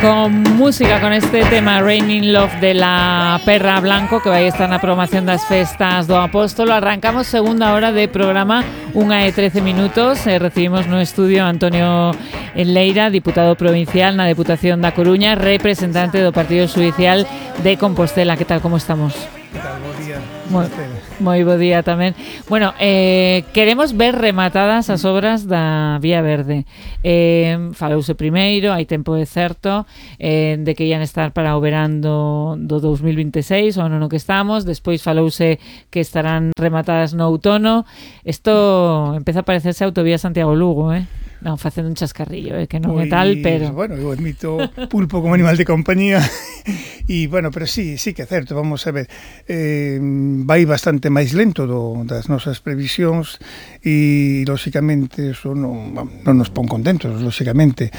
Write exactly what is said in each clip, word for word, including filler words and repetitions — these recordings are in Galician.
Con música, con este tema Raining Love de la Perra Blanco, que vai estar na programación das festas do Apóstolo. Arrancamos segunda hora de programa, unha e trece minutos. eh, Recibimos no estudio a Antonio Enleira, diputado provincial na Deputación da Coruña, representante do Partido Xudicial de Compostela. Que tal, como estamos? Que tal, bo día. Moi, moi bo día tamén. Bueno, eh, queremos ver rematadas as obras da Vía Verde. Eh, falouse primeiro, hai tempo de certo, eh, de que ian estar para o verán do, do dos mil vinte e seis, o ano no que estamos. Despois falouse que estarán rematadas no outono. Isto empeza a parecerse a autovía Santiago-Lugo, eh? Non, facendo un chascarrillo, eh, que non Pois, é tal, pero... Bueno, eu admito pulpo como animal de compañía e, bueno, pero sí, sí que é certo, vamos a ver, eh, vai bastante máis lento do, das nosas previsións e, lóxicamente, eso non, non nos pon contentos, lóxicamente.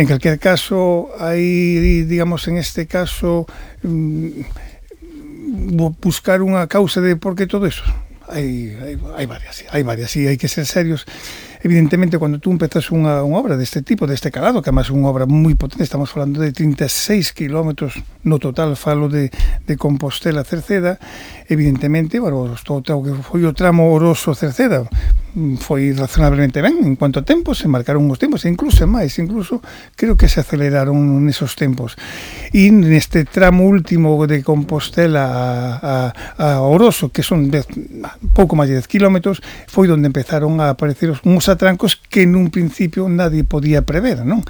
En calquer caso, hai, digamos, en este caso, mm, buscar unha causa de por que todo eso. Hai, hai, hai varias, hai varias, e hai que ser serios. Evidentemente, cando tú empezas unha, unha obra deste tipo, deste calado, que además é unha obra moi potente, estamos falando de trinta e seis kilómetros no total, falo de, de Compostela a Cerceda, evidentemente, bueno, todo o que foi o tramo Oroso-Cerceda foi razonablemente ben en cuanto a tempos, se marcaron os tempos, e incluso máis, incluso creo que se aceleraron nesos tempos. E neste tramo último de Compostela a, a, a Oroso, que son dez, pouco máis de dez kilómetros, foi onde empezaron a aparecer uns atrancos que nun principio nadie podía prever, non?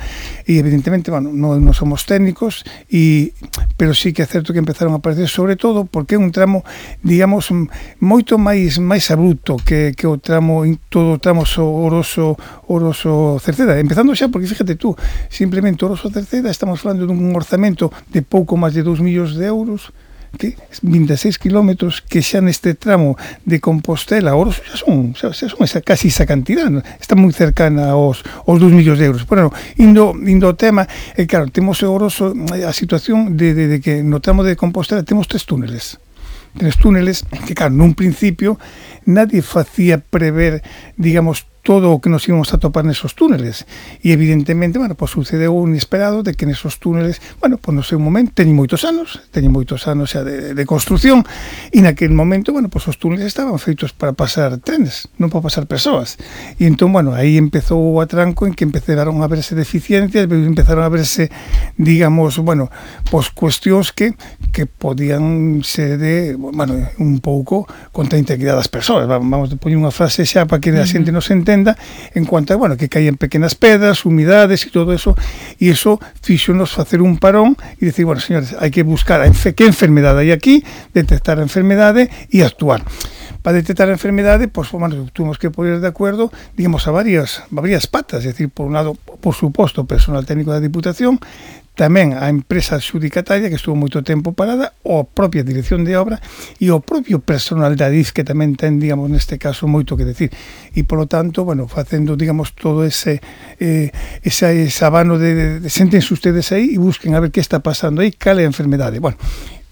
E evidentemente, bueno, non, non somos técnicos, e, pero sí que é certo que empezaron a aparecer, sobre todo porque é un tramo, digamos, moito máis máis abrupto que, que o tramo, todo o tramo Oroso, Oroso Cerceda, empezando xa, porque fíjate tú, simplemente Oroso Cerceda estamos falando dun orzamento de pouco máis de dous millóns de euros, que vinte e seis kilómetros, que xa neste tramo de Compostela Oroso xa son, xa, xa son esa, casi esa cantidad, ¿no? Está moi cercana aos, aos dous millóns de euros. Bueno, indo, indo ao tema, eh, claro, temos o Oroso, a situación de, de, de que no tramo de Compostela temos tres túneles, tres túneles que, claro, nun principio nadie facía prever, digamos, todo o que nos íbamos a topar nesos túneles, e evidentemente, bueno, pues sucedeu un inesperado de que nesos túneles, bueno, pues no sei un momento, teñen moitos anos, teñen moitos anos xa de, de construción, e naquele momento, bueno, pues os túneles estaban feitos para pasar trenes, non para pasar persoas, e entón, bueno, aí empezou o atranco en que empezaron a verse deficiencias, empezaron a verse, digamos, bueno, pues cuestións que que podían ser de, bueno, un pouco contra a integridade das persoas. Vamos a poñer unha frase xa para que a xente non se entenda, en cuanto a, bueno, que caían pequenas pedras, humidades e todo eso, e eso fíxonos facer un parón e decir, bueno, señores, hai que buscar a enfe que enfermedade hai aquí, detectar a enfermedade e actuar. Para detectar a enfermedade, pues, bueno, tuvimos que poner de acuerdo, digamos, a varias, a varias patas, es decir, por un lado, por suposto, o personal técnico da Diputación, tamén a empresa xudicataria que estuvo moito tempo parada, o propia dirección de obra e o propio personal da D I F que tamén ten, digamos, neste caso moito que decir, e polo tanto, bueno, facendo, digamos, todo ese eh, ese, ese abano de, de, de séntense ustedes aí e busquen a ver que está pasando aí, cal é a enfermedade. Bueno,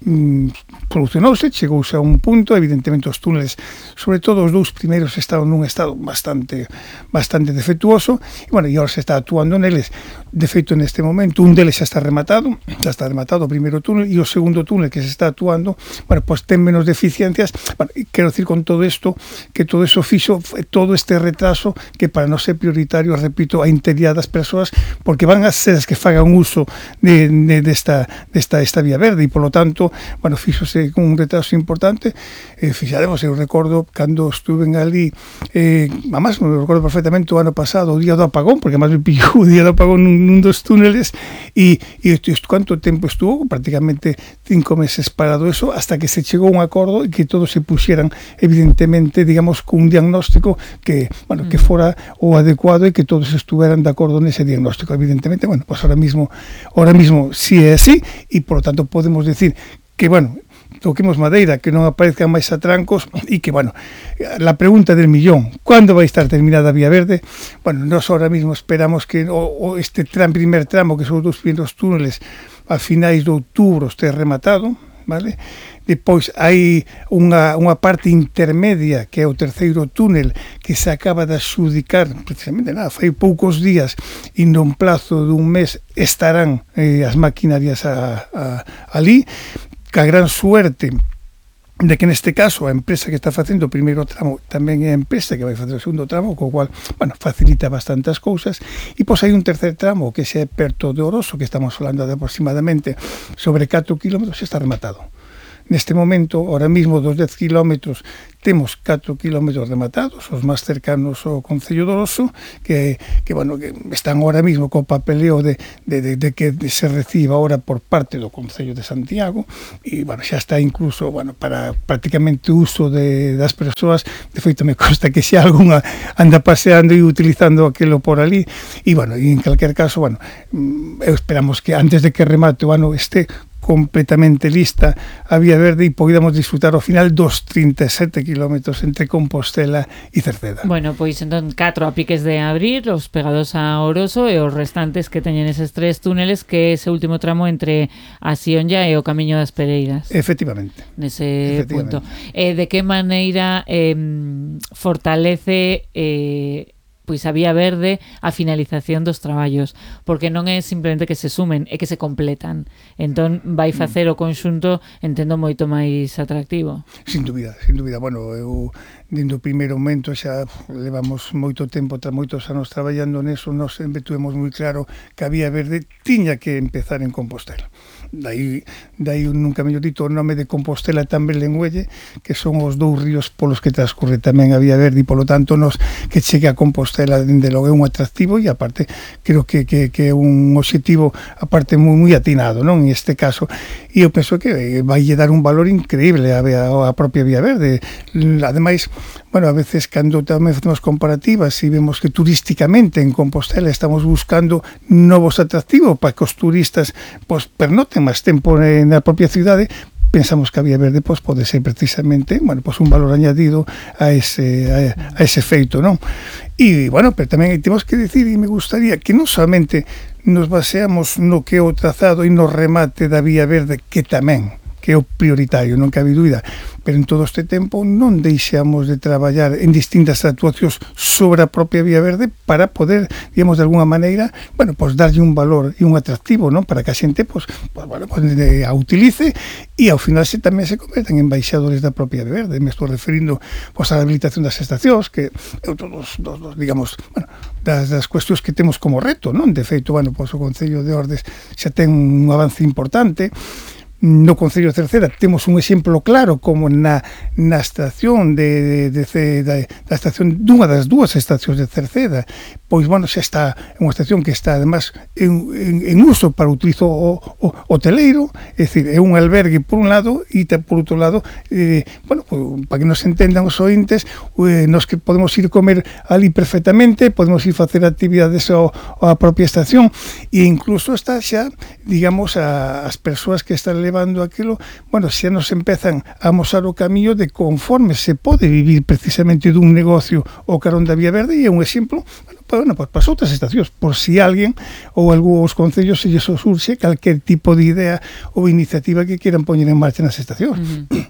mm, solucionouse, chegouse a un punto, evidentemente os túneles, sobre todo os dous primeiros, estaban nun estado bastante bastante defectuoso, e bueno, e agora se está actuando neles. De feito, neste momento, un deles xa está rematado, xa está rematado o primeiro túnel, e o segundo túnel que se está actuando, bueno, pois ten menos deficiencias. Bueno, quero decir con todo isto, que todo eso fixo, todo este retraso, que para non ser prioritario, repito, a integridade das persoas, porque van a ser as que fagan uso de, de, desta, desta esta vía verde, e polo tanto, bueno, fixose con un retraso importante. Eh, fixaremos, eu recordo cando estuve ali, eh, además, me recordo perfectamente o ano pasado, o día do apagón, porque además me pillou o día do apagón nun, nun dos túneles, e, e cuánto tempo estuvo, prácticamente cinco meses parado eso, hasta que se chegou a un acordo e que todos se puxeran, evidentemente, digamos, con un diagnóstico que, bueno, que fora o adecuado e que todos estuveran de acordo nese diagnóstico. Evidentemente, bueno, pues ahora mismo, ahora mismo sí é así, e por lo tanto podemos decir que, bueno, toquemos madeira, que non aparezcan máis atrancos, e que, bueno, la pregunta del millón, ¿cuándo vai estar terminada a Vía Verde? Bueno, nós ahora mismo esperamos que o, o este tram, primer tramo, que son os dos primeros túneles, a finais de outubro este rematado, vale? Depois hai unha, unha parte intermedia que é o terceiro túnel que se acaba de adxudicar precisamente nada, fai poucos días e non plazo dun mes estarán eh, as maquinarias a, a, ali, ca gran suerte de que neste caso a empresa que está facendo o primeiro tramo tamén é a empresa que vai facer o segundo tramo, co cual, bueno, facilita bastantes cousas. E pois hai un tercer tramo que se é perto de Oroso, que estamos falando de aproximadamente sobre catro kilómetros, está rematado. Neste momento, ahora mismo, dos dez kilómetros, temos catro kilómetros rematados, os máis cercanos ao Concello de Oroso, que, que, bueno, que están ahora mismo co papeleo de, de, de, de que se reciba ahora por parte do Concello de Santiago, e, bueno, xa está incluso, bueno, para prácticamente uso de, das persoas. De feito, me consta que xa algunha anda paseando e utilizando aquilo por ali, e, bueno, e en calquer caso, bueno, esperamos que antes de que remate o ano este completamente lista a Vía Verde e podamos disfrutar ao final dos trinta e sete kilómetros entre Compostela e Cerceda. Bueno, pois entón catro a piques de abril, os pegados a Oroso e os restantes que teñen eses tres túneles, que é ese último tramo entre a Sionlla e o Camiño das Pereiras. Efectivamente. Nese punto. Eh, de que maneira eh, fortalece eh, pois a Vía Verde a finalización dos traballos, porque non é simplemente que se sumen, é que se completan. Entón vai facer o conxunto, entendo, moito máis atractivo. Sin dúbida, sin dúbida. Bueno, eu dentro do primeiro momento xa levamos moito tempo, tra moitos anos traballando neso, nós sempre tuvemos moi claro que a Vía Verde tiña que empezar en Compostela. Daí, daí nunca mellor dito o nome de Compostela tamén Lengüelle, que son os dous ríos polos que transcurre tamén a Vía Verde, e polo tanto nos que chegue a Compostela dende logo é un atractivo, e aparte creo que, que, que é un objetivo aparte moi, moi atinado, non? En este caso, e eu penso que vai dar un valor increíble a, a, a propia Vía Verde. Ademais, bueno, a veces cando tamén facemos comparativas e vemos que turísticamente en Compostela estamos buscando novos atractivos para que os turistas pues, pernoten máis tempo na propia cidade, pensamos que a Vía Verde pues, pode ser precisamente, bueno, pues un valor añadido a ese, a, a ese feito, non? E, bueno, pero tamén temos que dicir, e me gustaría que non solamente nos baseamos no que é o trazado e no remate da Vía Verde, que tamén, que é o prioritario, non cabe dúbida, pero en todo este tempo non deixamos de traballar en distintas actuacións sobre a propia Vía Verde para poder, digamos, de alguna maneira, bueno, pues darlle un valor e un atractivo, non? Para que a xente, pues, pues bueno, pues, a utilice e ao final se tamén se convertan en embaixadores da propia Vía Verde. Me estou referindo, pues, a habilitación das estacións, que é todos, dos, dos, digamos, bueno, das, das cuestións que temos como reto, non? De feito, bueno, pues, o Concello de Ordes xa ten un avance importante. No Concello de Cerceda temos un exemplo claro como na, na estación de, de, de, de, da estación dunha das dúas estacións de Cerceda, pois, bueno, xa está unha estación que está además en, en, en uso para o utilizo o, o, hoteleiro, é dicir, é un albergue por un lado e por outro lado, eh, bueno, pues, para que nos entendan os ointes, eh, nos que podemos ir comer ali perfectamente, podemos ir facer actividades ao, á propia estación, e incluso está xa, digamos, a, as persoas que están levando aquilo, bueno, xa nos empezan a amosar o camiño de conforme se pode vivir precisamente dun negocio o carón da Vía Verde, e é un exemplo, bueno, para, bueno, para as outras estacións, por si alguén ou algúns concellos se lles surxe calquer tipo de idea ou iniciativa que quieran poñer en marcha nas estacións. Uh-huh.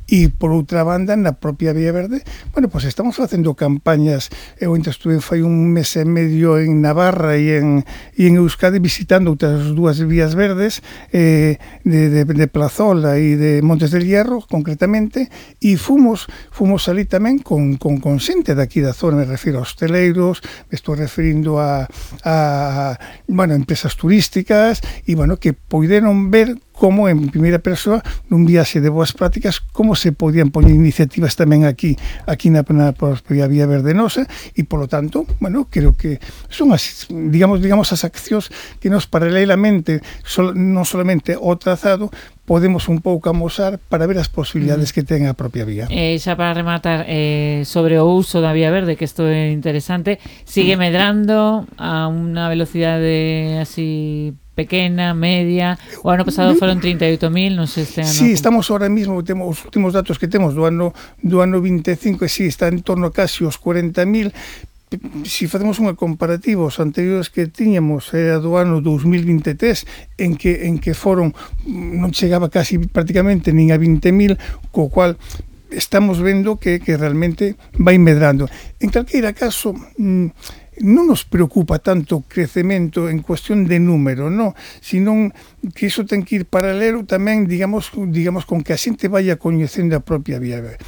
E, por outra banda, na propia Vía Verde, bueno, pues estamos facendo campañas. Eu ainda estuve fai un mes e medio en Navarra e en, e en Euskadi visitando outras dúas vías verdes, eh, de, de, de Plazola e de Montes del Hierro, concretamente, e fomos, fomos ali tamén con, con, con xente daqui da zona, me refiro a hosteleiros, me estou referindo a, a bueno, empresas turísticas, e, bueno, que poideron ver como en primeira persoa, nun viaxe de boas prácticas, como se podían poñer iniciativas tamén aquí, aquí na, na propia Vía Verde nosa, e, polo tanto, bueno, creo que son as, digamos, digamos, as accións que nos paralelamente, sol, non solamente o trazado, podemos un pouco amosar para ver as posibilidades mm. que ten a propia vía. Eh, xa para rematar, eh, sobre o uso da Vía Verde, que isto é interesante, sigue medrando a unha velocidade así pequena, media. O ano pasado foron trinta e oito mil, non sei este ano. Sí, estamos ahora mismo, temos os últimos datos que temos do ano do ano vinte e cinco, e sí, está en torno a casi os cuarenta mil, se facemos unha comparativa os anteriores que tiñamos era do ano dous mil vinte e tres en que, en que foron, non chegaba casi prácticamente nin a vinte mil, co cual estamos vendo que, que realmente vai medrando. En calqueira caso, non nos preocupa tanto o crecemento en cuestión de número, no, sino que iso ten que ir paralelo tamén, digamos, digamos con que a xente vaya coñecendo a propia Vía Verde.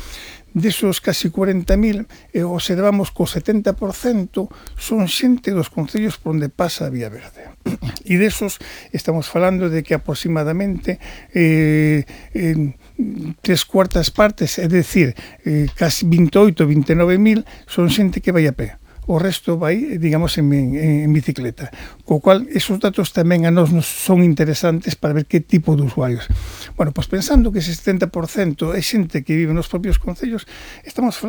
Desos casi cuarenta mil, eh, observamos que o setenta por cento son xente dos concellos por onde pasa a Vía Verde. E desos estamos falando de que aproximadamente eh, eh, tres cuartas partes, é dicir, eh, casi veintiocho, veintinueve mil, son xente que vai a pé. O resto vai, digamos, en, en, en bicicleta. Co cual, esos datos tamén a nós nos son interesantes para ver que tipo de usuarios. Bueno, pois pensando que ese setenta por cento é xente que vive nos propios concellos, estamos falando